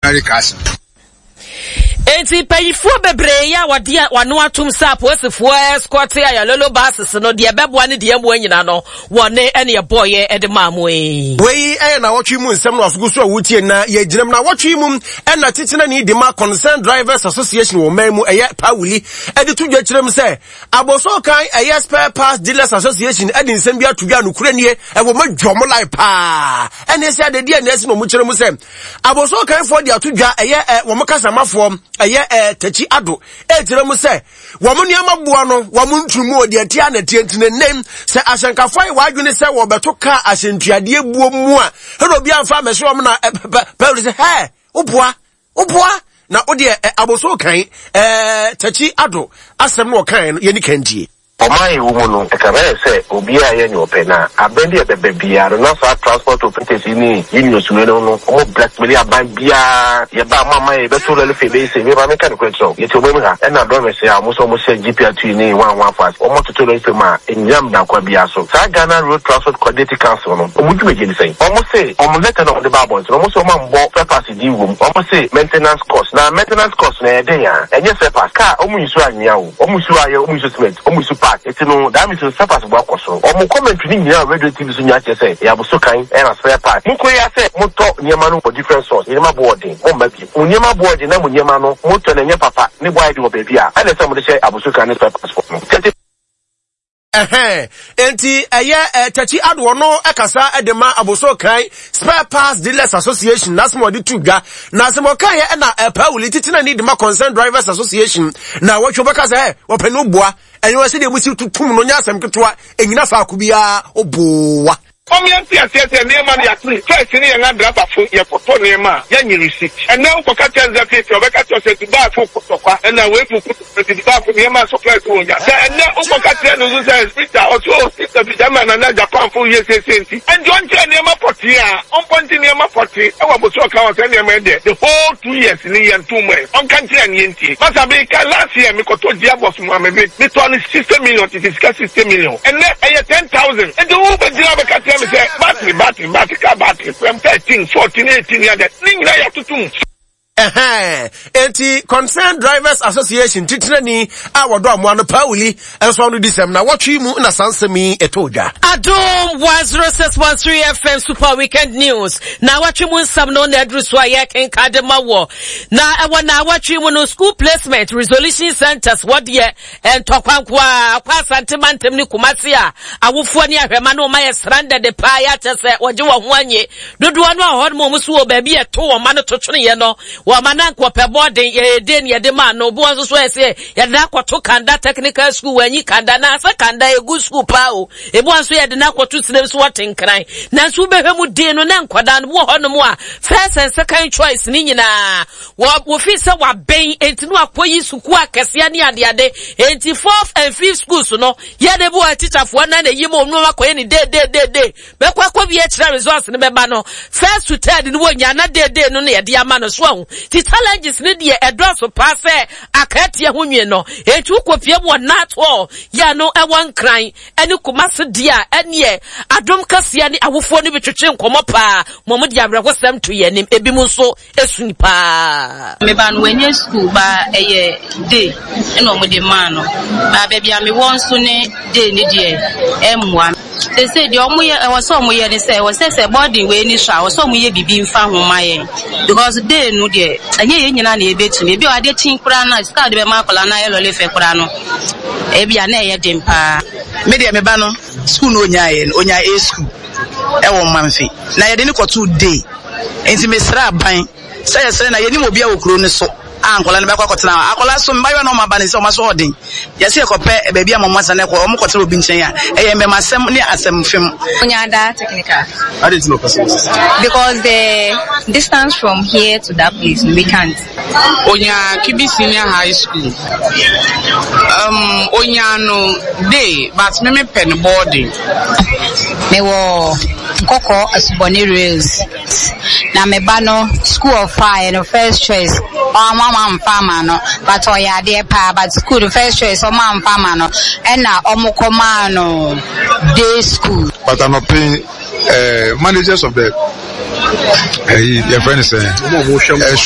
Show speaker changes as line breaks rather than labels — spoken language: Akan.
ordinary cars no.
Enti mpanyinfoɔ bebree yi a wɔde wɔn ano atom sɛ apolisifoɔ escort Ayalolo buses no deɛ ɛbɛboa ne deɛ ɛmmoa nyina no wɔne ɛne ɛbɔɔyɛ de maa mo yi.
Wei yɛ nawɔtwe mu nsɛm no asogu so a wotie na yɛgyina mu. Nawɔtwe mu ɛna titenani de ma Concerned Drivers Association wɔ ɔman mu ɛyɛ Pawuli ɛde to dwa kyerɛ mu sɛ Abosokan ɛyɛ Spare Parts Dealers Association ɛde nsɛm bi ato dwa nokorɛ nie ɛwɔ ma dwa ɔmo lai paa ɛne sɛ adedeɛ na ɛsi na ɔmo kyerɛ mu sɛ Abosokanfoɔ de ato dwa ɛyɛ ɛ wɔn kasamafoɔ ɛyɛ ɛ Takyi Ado ɛkyerɛ mu sɛ wɔn nneɛma boɔ no wɔn ntu mu deɛ ɛteɛ na ɛteɛ nti ne nnɛ sɛ ahyɛnkafoɔ ayɛ wɔadwene sɛ wɔbɛto kaa ahyɛntuadeɛ buo mu a ɛna obi amfa amɛhyɛ wɔn na pɛpɛ sɛ hɛ woboa woboa na wodeɛ aboso kan ɛɛ Takyi Ado asɛm no ɔkan no yɛni kan tie.
Ɔman a yɛwɔ mu no, ɛkame ayɛ sɛ obiara yɛ nea ɔpɛ, na abɛn bi a ɛbɛba biara no, na saa transport operators yi ne unions wei nom no, wɔn blackmaili aban biara. Yɛba a, moamma yɛn, yɛbɛto lɔre fee bɛyɛ sei. Me ba, menka nokorɛ nkyerɛ wo, yɛte ɔman mu ha, ɛna drivers yi a wɔn nso wɔhyɛ GPRTU ne one one fo ase, wɔatoto lɔre fee mu a ɛnnyina mmara biara so. Saa Ghana Road Transport Coordinating Council no, wɔn dwumadie ne sɛn? Wɔse wɔn letter no a wɔde baa abɔnten no, wɔse wɔammɔ spare parts din wɔ mu. Wɔse maintenance cost, na maintenance cost no ɛyɛ dɛn a? Ɛnyɛ spare parts. Car, wɔn nsuo anwea o. Wɔn su ayɛ, wɔn su cement, wɔn su park, eti no that means no surplus bo akɔ soro. Wɔn commentary no nyinaa wɔ radio TV so nyinaa kyerɛ sɛ ɛyɛ aboso kan ɛna spare part. Mo kɔ yi ara sɛ mo tɔ nneɛma no wɔ different source, nneɛma bo wɔ den, mo mma bio. Mo nneɛma bo wɔ den na mo nneɛma no mo tɔ no ɛnyɛ papa, ne bo ayɛ den wɔ baabi a, ɛna ɛsɛ sɛ mo de hyɛ aboso kan ne spare parts foɔ no. Tete.
Ɛhɛn, enti ɛyɛ ɛ Takyi Adoɔ no kasa de ma Abossey Okai Spare Parts Dealers Association n'asɛm a ɔde to dwa. Na asɛm a ɔkaeɛ ɛna Pauli titenani de ma Concerned Drivers Association na wɔtwe bɛka sɛ ɛ wɔpɛ no boa ɛnyɛ wɔ sɛdeɛ musi tutum no nyɛ asɛm ketewa ɛnyina faako biara ɔboa.
Mom yɛnte aseɛ sɛ nneɛma no yɛatene first ne yɛn adrabafo yɛkɔtɔ nneɛma a yɛnye receipt ɛnɛ wokɔka kyerɛ no sɛ feefee a ɔbɛka kyerɛ wo sɛ Dubai fo ko tɔkwa ɛna wei fo ko tɔkwa nti Dubai fo nneɛma a supplies wɔ nya sɛ ɛnɛ wokɔka kyerɛ no nso sɛ Peter ɔse oh sister bi gyama na na Japan fo yɛ seesei nti ɛnti ɔnkyerɛ nneɛma pɔtee a ɔmpɔnte nneɛma pɔtee ɛwɔ abosoɔ ka wɔ sɛ nneɛma yi deɛ the whole 2 years ni yɛnto mu ɛ ɔnka nkyerɛ no yɛntie masa meka last year mekɔtɔ gearbox mu a me metɔɔ no 60 million tete sika 60 million ɛnɛ ɛyɛ 10,000 nti wo bɛgyina bɛka kyerɛ me sɛ battery battery battery car battery from 13 14 18 yɛdɛ ne nyinaa yɛatoto mu.
Ɛhɛn, enti Concerned Drivers Association titenani a wɔdɔ amoa no Pauli nso ano di sɛm na wɔtwe mu na saa nsɛm yi ɛtɔ dwa.
Adom 106.3 FM Super Weekend News na wɔtwe mu nsɛm no na aduru so a yɛkenka de ma wɔ na ɛwɔ na wɔtwe mu no school placement resolution centers wɔdeɛ Ntɔkwa nko ara kɔ Asante mantam ne Kumasi a awofoɔ ne ahwɛma no ma yɛ srandɛde paa yɛ akyɛ sɛ wɔgye wɔn ho anye. Dodoɔ no a hɔ nom wɔn so wɔ baabi a ɛto wɔn ma no to tweneɛ no, wɔn ma no anka ɔpɛ bɔɔden, yɛyɛ den ne yɛde maa no. Obi wɔ nso so ɛsɛ yɛde no akɔto Kanda Technical School, wɔanyi Kanda na asɛ Kanda ɛgu school paa o. Ebi wɔ nso yɛde no akɔto Sirem so wɔte Nkran. Nanso wobɛhwɛ mu den no na nkwadaa no bi wɔ hɔ nom a first and second choice ne nyinaa Wɔ wofii sɛ waben enti no akɔyi sukuu akɛseɛ ne adeade enti fourth and fifth schools no yɛ de bi wɔ tikyafoɔ na na eyi mu wɔn akɔyɛ ne dee dee dee dee bɛkɔ akɔ wie kyerɛ results no bɛba no first to third no wɔnya na dee dee no na yɛde ama no so ahu ti challenges no deɛ ɛdɔɔso paa sɛ akaatia ho nwi no enti wokɔpie mu wɔ nat hall yɛ no ɛwɔ Nkran ɛne Kumase deɛ a ɛneɛ adom kɛseɛ ne awofoɔ no bi twetwe nkɔmmɔ paa ma wɔn de awerɛhosɛm to yɛn anim ebi mu nso Esui paa.
Me ba no wanyɛ school ba ɛyɛ day ɛna ɔmo de maa no ba baabi a mewɔ nso ne day ne deɛ ɛmmoa sese deɛ ɔmo yɛ ɛwɔ sɛ ɔmo yɛ ne sɛ ɛwɔ sɛ sɛ boarding wei ni so a ɛwɔ sɛ ɔmo yɛ biribi nfa ho ma yɛn because day no deɛ ɛnyɛ yɛn nyinaa na yɛbɛtumi ebi wɔ adeɛ kyin koraa na sika a wɔde bɛma akwadaa no ayɛ lɔle fɛ koraa no ebi a na ɛyɛ den paa.
Me deɛ me ba no school no onyaeɛ no onyaa A school ɛwɔ Mamfe na yɛde no kɔtoo day. Enti mesrɛ aban sɛ yɛsrɛ na yɛnim obiara wɔ kuro no so a nkwadaa no bɛkɔ akɔtena hɔ. Akwadaa so mmaayewa na wɔn aba no sɛ wɔn aso ɔden. Yɛsɛ yɛkɔpɛ baabi a wɔn atena na wɔn kɔtena obi nkyɛn a, ɛyɛ mmɛmasɛm ne asɛm fam.
Onyada technical.
Adi nti na ɔpɛ sɛ wɔsesa.
Because the distance from here to that place we can't.
Onya Kibi Senior High School. Um, onya no day, but me me pɛ no boarding.
Mewɔ Nkɔkɔ Asubɔne Rails na me ba no school ɔfaeɛ no first choice ɔmo amfa ama no but ɔyɛ adeɛ paa but school no first choice ɔmo amfa ama no ɛna ɔmo kɔ maa no day school.
But anɔpɛ yi eh, managers of the ɛyi eh, yɛfrɛ no sɛ ɛhwɛ.